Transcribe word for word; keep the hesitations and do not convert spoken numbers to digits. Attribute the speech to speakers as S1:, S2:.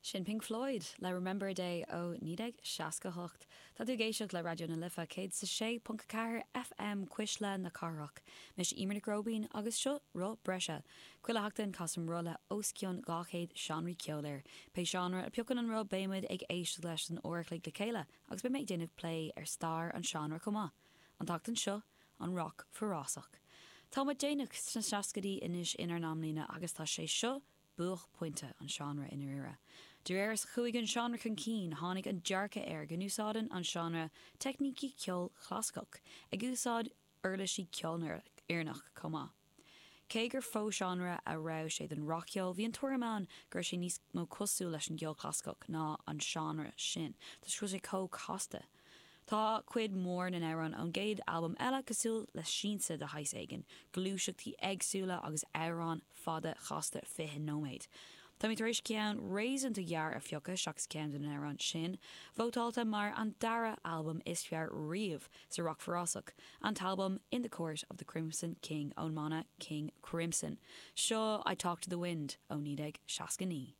S1: Sin Pink Floyd le Remember a Day ó naoi déag seasca hocht. Tá tú ag éisteacht le Raidió na Life céad is a sé ponc a ceathair FM Cuisle na Cathrach. Mise Eimear Nic Róibín agus seo Roth Breise. Chuile sheachtain casaim roth le os cionn dhá chéad seánraí ceoil air. Pé seánra a phiocann an roth beimid ag éisteacht leis san uair a chloig le chéile agus beidh mé ag déanamh plé ar stair an seánra chomh maith. An tseachtain seo, an roc forásach. Tá muid déanach sna seascaidí anois inár n-amlíne agus tá sé seo buaicphointe an seánra i ndáiríre. De réir is chuaigh an seánra chun cinn, tháinig an dearcadh air go n-úsáideann an seánra teicnící ceoil chlasaiceach, ag úsáid uirlisí ceolfhoirneach chomh maith. Cé gur fo-seánra a raibh sé den rac-cheol, bhí an tuairim ann go raibh sé níos mó cosúil leis an gceol clasaiceach ná an seánra sin, toisc go bhfuil sé chomh casta. Tá cuid mhór na n-amhrán ón gcéad albam eile cosúil le siansa de shaghas éigin, gluaiseachtaí éagsúla agus amhráin fada chasta fiche nóiméad. Tá mé tar éis ceann réasúnta gearr a phiocadh seachas ceann de na hamhráin sin, vótáilte mar an dara albam is fearr riamh sa roc forásach, an t-albam In the Court of the Crimson King ón mbanna King Crimson. Seo I Talk to the Wind ó naoi déag seasca naoi.